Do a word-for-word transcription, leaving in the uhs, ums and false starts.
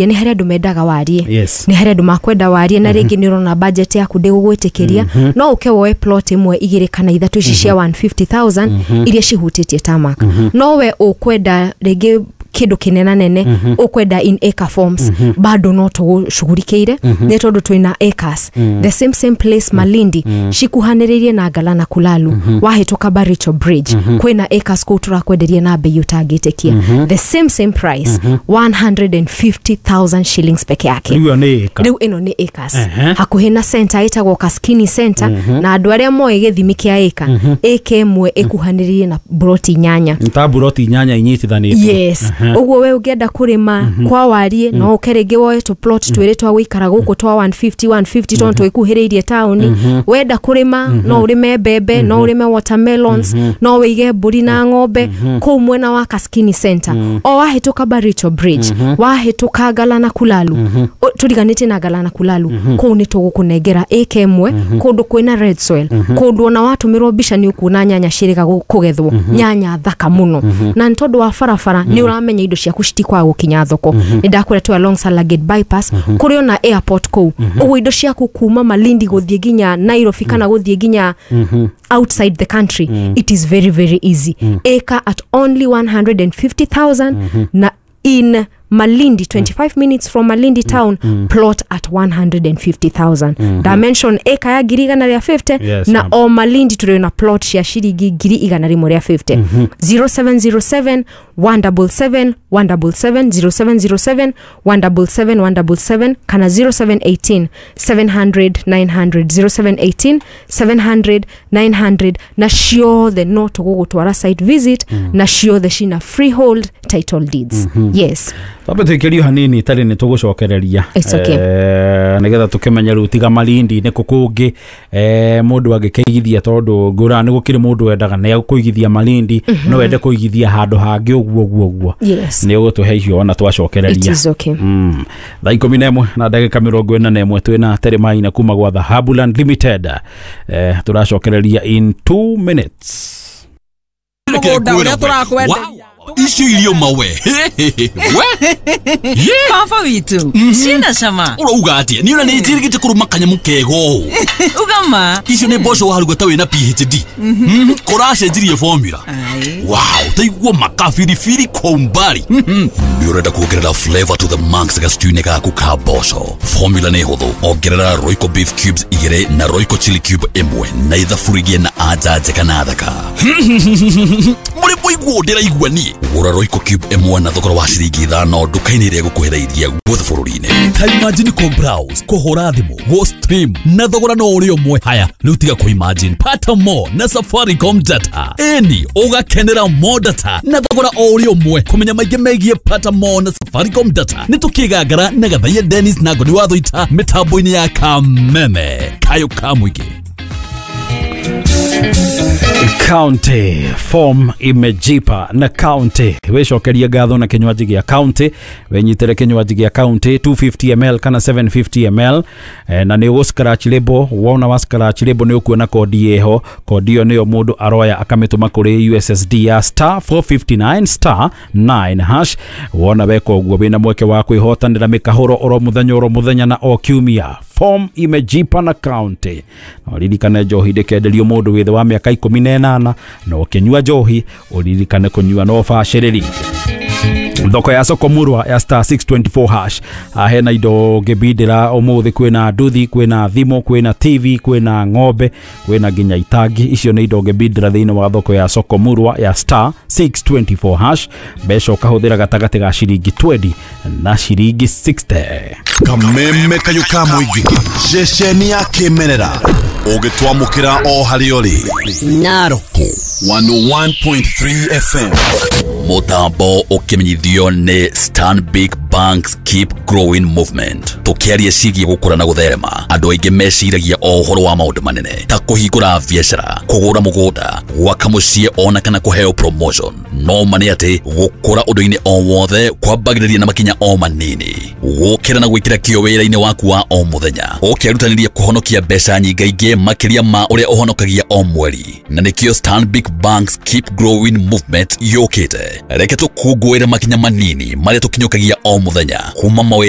Nĩ harĩ andũ mendaga warie. Yes. Nĩ harĩ andũ makwenda warie, na rĩngĩ nĩ ũrona budget yaku ndĩgũgwĩtĩkĩria, no ũke woe plot ĩmwe, igĩrĩ kana ithatũ ici cia igana rĩa mĩrongo ĩtano iria cihutĩtie tarmac. No we ũkwenda rĩngĩ kĩndũ kĩnena nene, ũkwenda in acre forms, bado no tũgũcugurikĩire, nĩ tondũ twĩna acres the same same place Malindi, cikuhanĩrĩirie na Ngala na Kulalu, wahĩtũka Baricho Bridge, kwĩna acres kũu tũrakwenderia na bei ũtangĩtĩkia, the same same price, one hundred fifty thousand shillings peke yake. Rĩu ĩyo nĩ ĩka. Rĩu ĩno nĩ acres Ehe. hakuhĩ na center ĩtagwo Kaskini Center, na andũ arĩa moĩ gĩthimi kĩa ĩka, ĩka ĩmwe ĩkuhanĩrĩirie na broti inyanya. Nĩ ta buroti inyanya inyitithanĩtio. Yes, ũguo we ũngĩenda kũrĩma kwa warie, no ũke rĩngĩ woe tũ plot twĩrĩ twa gũikara gũkũ twa igana rĩa mĩrongo ĩtano igana rĩa mĩrongo ĩtano, tondũ twĩkuhĩrĩirie taũni. Wenda kũrĩma, no ũrĩme mbembe, no ũrĩme watermelons, no wĩige mbũri na ng'ombe kũu mwena wa Kaskini Center, o wahĩtũka Baricho Bridge, wahĩtũka Ngala na Kulalu. O- tũriganĩtie na Ngala na Kulalu, kũu nĩ tũgũkũnengera ĩka ĩmwe kũndũ kwĩna red soil, kũndũ ona watũmĩrwo mbica nĩ ũkuona nyanya ciĩrĩga gũ- kũgethwo, nyanya thaka mũno. Na nĩ tondũ wa barabara, nĩ ũramenya indo ciaku citikwaga gũkinya thoko. Nĩ ndakwĩra twĩ along Salagate Bypass, kũrĩ ona airport kũu. Ũguo indo ciaku kuma Malindi gũthiĩ nginya Nairobi kana gũthiĩ nginya outside the country, it is very very easy. Acre at only one hundred fifty thousand, na in Malindi, twenty-five minutes from Malindi town, plot at one hundred fifty thousand. Dimension acre ya ngiri igana rĩa mĩrongo ĩtano. Yes, na ma'am. O Malindi tũrĩ na plot cia ciringi ngiri igana rĩmwe rĩa mĩrongo ĩtano. zero seven zero seven one seven seven one seven seven, zero seven zero seven one seven seven one seven seven, kana zero seven one eight seven hundred nine hundred, zero seven one eight seven hundred nine hundred. Na ciothe no tũgũgũtwara site visit, na ciothe cina freehold title deeds, yes. Twambe twĩkĩrio hanini tarĩ nĩ tũgũcokereria. It's okay. Eh, nĩgetha tũkĩmenye rĩu tiga Malindi nĩ kũ kũngĩ eh, mũndũ angĩkĩigithia, tondũ ngũra nĩ gũkĩrĩ mũndũ wendaga nĩ kũigithia Malindi, no wende kũigithia handũ hangĩ ũguo ũguo ũguo. Yes. Nĩ ũgũtũhe icio ona It twacokereria. is okay. Mm. thaa ikũmi na ĩmwe na ndagĩka mĩrongo ĩna na ĩmwe, twĩna Teremaina kuma gwa Dhahabuland Limited. eh, tũracokereria in two minutes. Mũgũnda ũrĩa tũrakwenderia. Icio irio mawe we. Baba witũ ciĩna cama. Ũrauga atĩa? Niĩ ona nĩ njĩrĩgĩte kũrũma kanyamũ kega ũũ. Ugama. Icio nĩ mboco waruga ta wĩna P H D. Mhm, kũracenjirie formula. Ai. Wow, taigua makabiribiri kwa umbali. Nĩ ũrenda kuongerera flavor to the max gastew-inĩ gaku ka mboco? Formula nĩ hũthũ: ongerera Royco beef cubes igĩrĩ na Royco chili cube ĩmwe na ithaburi na anja njega na thaka. Mũrĩ mũiguo ndĩraigua niĩ. Gũra Royco cube ĩmwe na thogora wa ciringi ithano nduka-inĩ ĩrĩa ĩgũkuhĩrĩirie guothe bũrũri-inĩ. Ta imagine kũ browse, kũhũra thimũ, gũ stream na thogora no ũrĩ ũmwe. Haya rĩu tiga kũ imagine, pata more na Safaricom data. Ĩni ũgakenera more data na thogora o ũrĩ ũmwe. Kũmenya maingĩ megiĩ pata more na Safaricom data, nĩ tũkĩgangara na Gathaiya Dennis na Ngoni wa Thũita mĩtambo-inĩ ya Kameme Kayũ ka Mũingĩ. County form imejipa na county. Wicokerie ngatho na kinywaji gia county. Winyitire kinywaji gia county two hundred fifty milliliters kana seven hundred fifty milliliters, eh, na nĩ ũgũ scratch label. Wona wa scratch label nĩ ũkuona kodi ĩho. Kodi ĩyo nĩyo mũndũ aroya akamĩtũma kũrĩ U S S D ya star four five nine star nine hash. Wona weka ũguo, wĩna mweke wa kwĩhotanĩra mĩkahũro oro mũthenya oro mũthenya na o kiumia. Form imejipa na county. Na ũririkane njohi ndĩkenderio mũndũ wĩ thĩ wa mĩaka ikũmi na ĩnana, na ũkĩnyua njohi ũririkane kũnyua na ũbacĩrĩri. Thoko ya soko murwa ya star six two four hash, ah, hena indo ngĩbindĩra ũmũthĩ. Kwĩna nduthi, kwĩna thimũ, kwĩna T V, kwĩna ng'ombe, kwĩna nginya itangi. Icio nĩ indo ngĩbindĩra thĩinĩ wa thoko ya soko murwa ya star six two four hash. Mbeca ũkahũthĩra gatagatĩ ga ciringi mĩrongo ĩĩrĩ na ciringi mĩrongo ĩnana. Kameme Kayũ ka Mũingĩ, ceceni ya kĩmerera ũgĩtwamũkĩra o harĩa ũrĩ. Naroko one oh one point three F M. Mũtambo ũkĩmenyithio nĩ Stanbic Bank's Keep Growing Movement. Tũkĩaria ciĩgiĩ gũkũra na gũtherema, andũ aingĩ meciragia o ũhoro wa maũndũ manene ta kũhingũra biacara, kũgũra mũgũnda, gwaka mũciĩ ona kana kũheo promotion. No ma nĩ atĩ gũkũra ũndũ-inĩ o wothe kwambagĩrĩria na makinya o manini. Gũkĩra na gwĩkĩra kĩo wĩra-inĩ waku wa o mũthenya, ũkĩrutanĩria kũhonokia mbeca nyingaingĩ makĩria ma ũrĩa ũhonokagia o mweri. Na nĩkĩo Stanbic Bank's Keep Growing Movement yũkĩte. Reke tũkũngũĩre makinya manini marĩa tũkinyũkagia o Mũthenya kuma mawĩra.